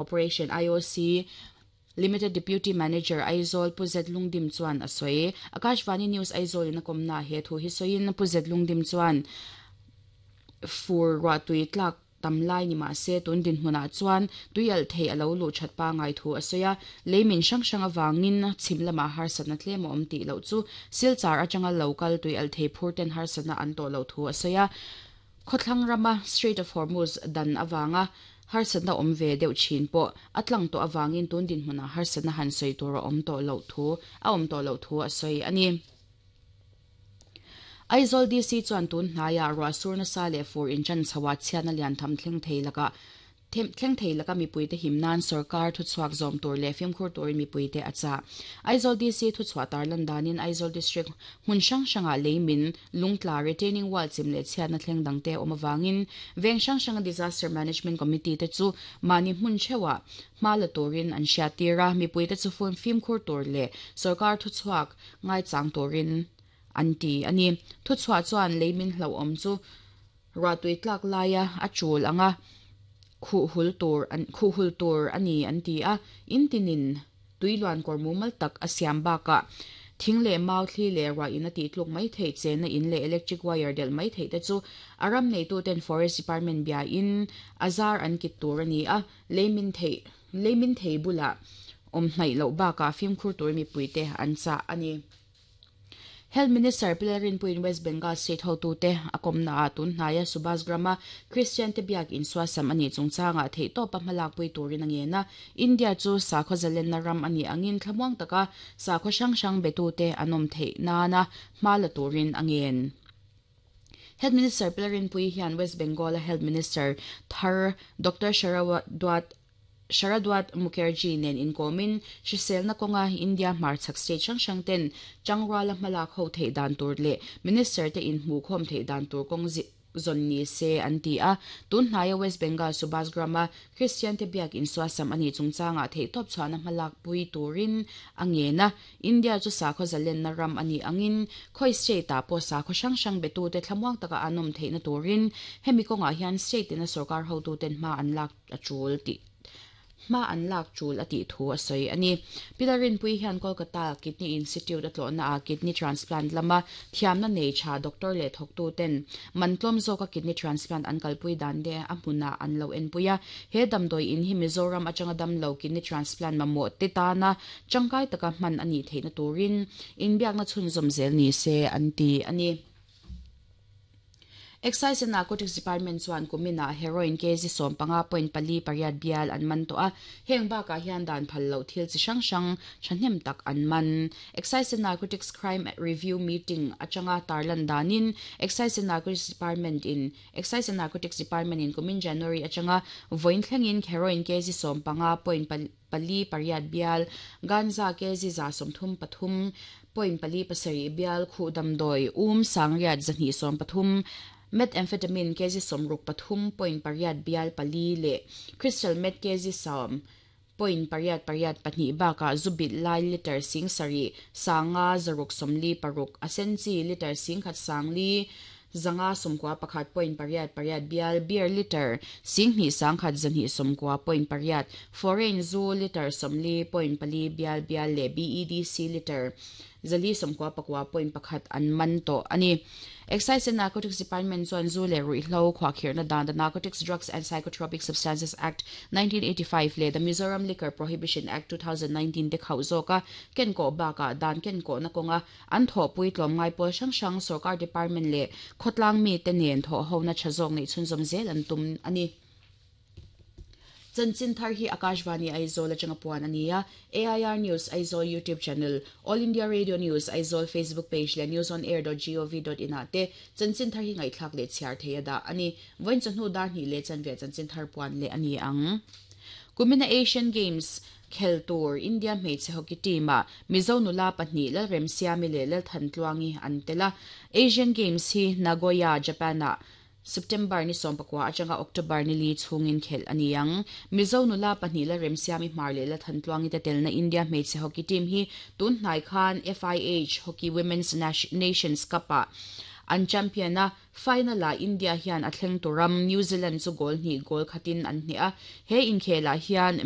Corporation, IOC, Limited Deputy Manager, Aizawl, Pu Zet Lungdim chuan a sawi. Akashvani News Aizawl in a kawmnaah he thu hi sawiin Pu Zet Lungdim chuan fur ruahtui tlak tam lai ni mah se tun dinhmunah chuan tui alh theih a lo luh that pangai thu a sawi a. Lei min hrang hrang avangin chhim lamah harsatna tlem a awm tih loh chu Silchar atanga lo kal tui alh thei phur ten harsatna an tawh loh thu a sawi a. Khawthlang rama Strait of Hormuz dan avanga harsatna awm ve deuh thin pawh a tlang tawh avangin tun dinhmunah harsatna han sawi tur a awm tawh loh thu a awm tawh loh thu a sawi a ni. Aizawl DC chuan tun hnaiah ruah sur nasa leh fur inṭan chhoah chhiatna lian tham thleng thei lakah Thleng thei laka mipuite him nan sorkar thuchhuak zawm tur leh fimkhur turin mipuite a chah. Aizawl DC thuchhuah tarlan danin Aizawl District hmun hrang hrangah lei min, lungtla, retaining wall chim leh chhiatna thleng dangte a awm avangin veng hrang hranga Disaster Management Committee te chu mahni hmun theuhah hma la turin an hriattir a, mipuite chu fimkhur tur leh sorkar thuchhuak ngaichang turin an ti a ni. Thuchhuah chuan lei min hlauhawm chu Ruahtui tlak laia a chul anga khuh hul tur an khuh hul tur a ni an ti a, in tinin tui luan kawr mumal tak a siam bakah thing leh mau thli leh ruah in a tih tluk mai theih chenna in leh electric wire delh mai theih te chu a ram neituten Forest Department bia in a zar an kit tur a ni a, lei min theih lei min thei bulah awm hnaih loh bakah fimkhur tur mipuite an chah a ni. Health Minister Pi Lalrinpuiin West Bengal State hotute a kawmnaah tun hnaia Subhas Gram-a Kristiante biak insuasam a nih chungchangah theihtawpa hmalakpui turin a ngen a. India chu sakhaw zalenna ram a nih angin thlamuang taka sakhaw hrang hrang betute an awm theih nana hma la turin a ngen. Health Minister Pi Lalrinpuii hian West Bengal-a Health Minister thar Doctor Sharadwat Sharadwat Mukherjee nen inkawmin hriselna kawnga India hmarchhak state hrang hrang ten tangruala hmalak ho theih dan tur leh Minister te inhmuhkhawm theih dan tur kawng zawn ni se an ti a. Tun hnaia West Bengal Subhasgram-a Kristian te biak insuasam a nih chungchangah theihtawp chhuahna hmalak pui turin a ngen a. India chu sakhaw zalenna ram a nih angin khawi state-ah pawh sakhaw hrang hrang betute thlamuang taka an awm theihna turin hemi kawngah hian state tina sorkar hotuten hma an lak a tul tih hma an lak tul a tih thu a sawi a ni. Pi Lalrinpuii hian Kolkata Kidney Institute a tlawhnaah kidney transplant lama thiamna nei tha doctor leh thawktuten man tlawm zawka kidney transplant an kalpui dan te a hmunah an lo enpui a. He damdawi in hi Mizoram atanga damlo kidney transplant mamawh te tana tangkai taka hman a nih theihna turin inbiakna chhunzawm zel ni se an ti a ni. Excise and Narcotics Department chuan kuminah heroin kg 15.48 bial an man tawh a, heng bakah hian dan phal loh thil chi hrang hrang thahnem tak an man. Excise and Narcotics Crime Review Meeting atanga tarlan danin Excise and Narcotics Department in Excise and Narcotics Department in kumin January atanga vawiin thlengin heroin kg 15.48 bial, ganja kg 133 .47 bial khuh damdawi um sangriat 213, methamphetamine kg 63.8 bial pali leh crystal meth kg 10.882 bakah zu bilh lai litre 7 sanga 646 a sen chi litre 10 sangli 591.88 bial beer litre 2,129.8 foreign zu litre 40.4 bial bial leh BEDC litre 499.1 an man tawh a ni. Excise and Narcotics Department chuan zu leh ruihhlo khuahkhirhna dan The Narcotics Drugs and Psychotropic Substances Act, 1985 leh The Mizoram Liquor Prohibition Act, 2019 te khauh zawka kenkawh bakah dan kenkawhna kawnga An thawhpui tlawmngai pawl hrang hrang sorkar department leh khawtlang mite nen thawhhona tha zawk neih chhunzawm zel an tum a ni. Chanchin thar hi Akashvani Aizawl atanga puan a ni a, AIR News Aizawl YouTube channel, All India Radio News Aizawl Facebook page leh newsonair.gov.in ah te chanchin thar hi ngaihthlak leh chhiar thei a dah a ni. Vawiin chawhnu dar hnih leh chanve chanchin thar puan leh a ni ang. Kumina Asian Games Khel tur India hmeichhe hockey team-ah Mizo nula pahnih Lalremsiami leh Lalthantluangi an tel a. Asian Games hi Nagoya, Japan-ah September ni 19 atanga October ni li chhungin khelh a ni ang. Mizo nula pahnih Lalremsiami Hmar leh Lalthantluangi te telna India hmeichhe hockey team hi tun hnai khan FIH Hockey Women's Nations Cup-ah. an champion a, final-ah India hian a thlengtu ram New Zealand chu goal hnih goal khatin an hneh a, he inkhelah hian.